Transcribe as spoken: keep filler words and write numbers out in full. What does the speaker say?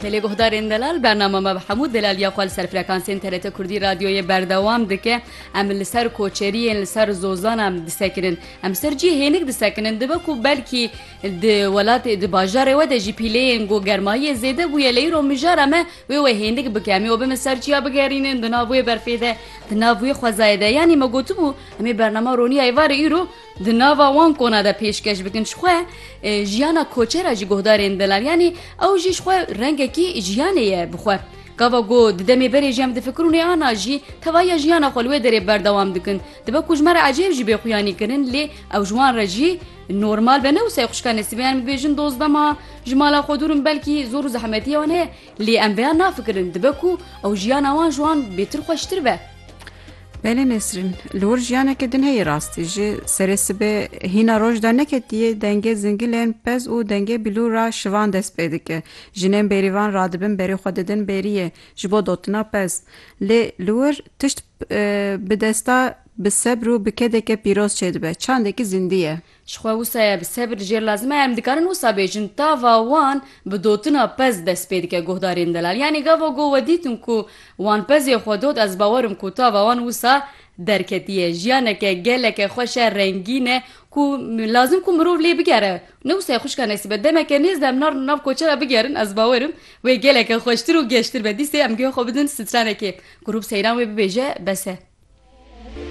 Belê guhdarên delal, bernama me bi hemû delaliya xwe li ser frekansên T R T Kurdî Radyoyê berdewam dike. Em li ser koçeriyên, li ser zozan em disekinin. Em li ser cihê hênik disekinin. Dibe ku belkî di welatê, di bajarê we de jî pîleyên ku germayiyê zêde bûye, lê îro mijara me wê we hênik bike. Em ê we bimin ser çiya bigerînin, di nav wê berfê de, di nav wê xwezayê de. Yanî me gotibû, em ê bernama Roniya Êvarê îro di nava wan kona de pêşkeş bikin. Ji xwe, e, jiyana koçera jî guhdarên delal. Yanî ew jî ji xwe rengekî jiyanê ye bi xwe. Gava ku di demê berê jî em difikirûn ê ana jî tevahiya jiyana xwe li wê derê berdewam dikin. Dibe ku ji me re ecêb jî bê xuyanî kirin, lê ew ji wan re jî normal be. Ne wisa ye xwişka Nesîbe, em dibêjin dozdema ji mala xwe dûr in, belkî zor û zehmetiya wan heye. Lê em vêya nafikirin, dibe ku ew jiyana wan ji wan bêtir xweştir be. Belê Nesrîn, li wir jiyaneke din heye rastî. Ji serê sibê hîna roj de neketiye, dengê zingilên pez û dengê bilûra şivan dest pê dike. Jinên bêrîvan radibin berê xwe didin bêriyê ji bo dotina pez. Lê li wir tişt, e, bi desta, bi sebr û bi kedeke pîroz çêdibe. Çandekî zindî ye. Ji xwe wisa ye, bi sebir jêr lazim e. Em dikarin wisa bêjin, tava wan bi dotina pez dest pê dike guhdarên delal. Yanî gava ku we dîtin ku wan pezê xwe dot, ez bawerim ku tava wan wisa derketiye. Jiyaneke geleke xweş e, rengîn e, ku lazim ku mirov lê bigere. Ne wisa ye xwişka Nesîbe, demeke nêz de em nar-, nav koçera bigerin, ez bawerim wê geleke xweştir û geştir be. Dîsê em guhê xwe bidin stranekê. Grûp Seyran wê bibêje, bes e.